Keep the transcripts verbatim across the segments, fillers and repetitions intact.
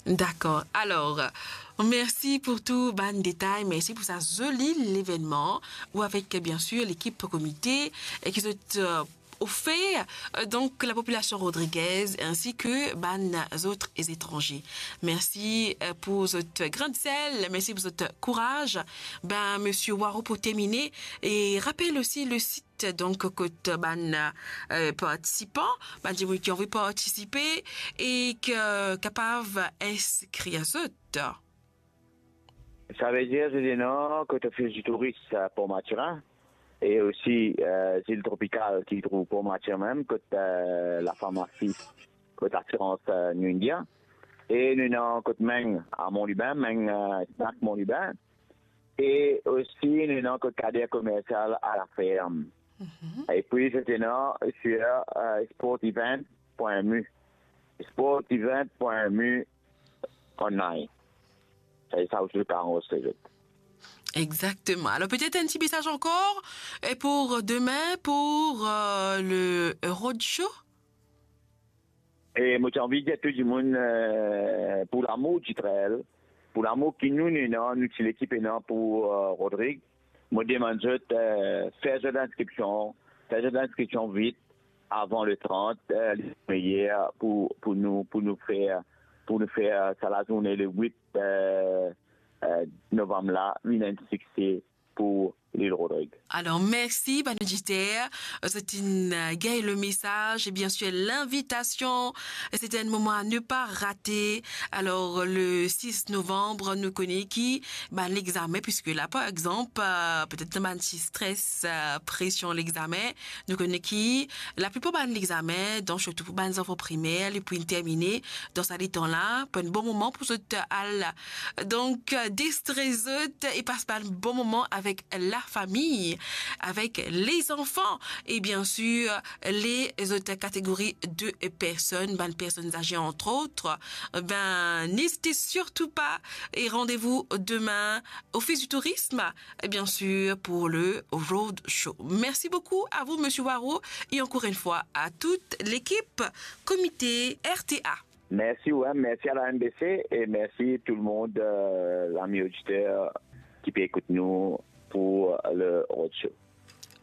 Dakor. Alor, mersi pou tou bann detay, mersi pou sa zoli levenman ou avek, bien sir, lekip komite, e ki zot, euh, ofer, euh, donk, lapopilasion rodrigaise ainsi que bann zot etranze. Mersi, euh, pou zot grin de sel, mersi pou zot kouraz. Ben, Misie Waro, pou termine, e rapel osi le sit, donk, kot bann, euh, partisipan, bann dimoun ki anvi partisipe e ki kapav inskrir zot. Savedir, zot ena kot Ofis di Touris, euh, Port Mathurin, e osi, euh, Zil Tropikal ki trouv Port Mathurin mem, kot, euh, lafarmasi, kot lasirans, euh, New India. E nou ena kot Meng a Mont Lubin, Meng, euh, Snack Mont Lubin. E osi, nou ena kot Kader Komersial a Laferm. Mhm. E pi, zot ena sur, euh, sportevent.mu. Sportevent.mu online. E sa osi, zot kapav anrezistre zot. Exactement. Alors, peut-être un petit message encore, et pour demain, pour, euh, le roadshow. E mo ti anvi dir tou dimoun, euh, pou lamour di trail, pou lamour ki nou, nou ena, nou ti lekip ena pou, euh, Rodrig, mo demann zot, euh, fer zot inskripsion, fer zot inskripsion vit, avan le trant, euh, li meyer pou, pou nou, pou nou fer, pou nou fer, euh, sa lazourne le wit, euh, euh, novanm la, vinn enn sikse pou Lil Rodrig. Alor, mersi, bann oditer. Zot inn, euh, gagn le mesaz e bien sir linvitasion. C'est un moment à ne pas rater. Alor, le sis novanm, nou kone ki bann lexame, puisque la, par exemple, euh, peut-être bann ti stres, euh, presion lexame, nou kone ki laplipar bann lexame, donk sirtou pou bann zanfan primer, li pou termine dan sa letan la, pou enn bon moman pou zot al, donk, euh, distre zot e pas bann bon moman avek lafami, avek lezanfan e bien sir lezot kategori de personn, bann personn aze, entre autres. Ben, n'hésitez surtout pas et rendez-vous demain Office du Tourisme, et bien sûr pour le Road Show. Merci beaucoup à vous, Monsieur Waro, et encore une fois à toute l'équipe comité R T A. Mersi, wi, mersi a la M B C e mersi tou le mond, euh, lami oditer ki pe ekout nou pou le Road Show.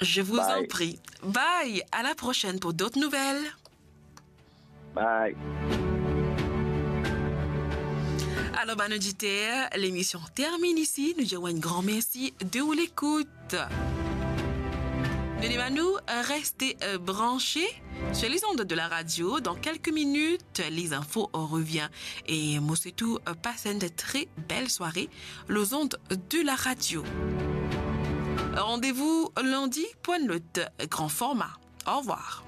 Je vous en prie. Bye. À la prochaine pour d'autres nouvelles. Bye. Alors, bann oditer, l'émission termine ici. Nou dir ou enn gran mersi de ou lekout. Nou demann ou, euh, reste, euh, branché sur les ondes de la radio. Dans quelques minutes, les infos reviennent. Et mo swet ou, euh, passe une très belle soirée, les ondes de la radio. Rendez-vous lundi pour un autre grand format. Au revoir.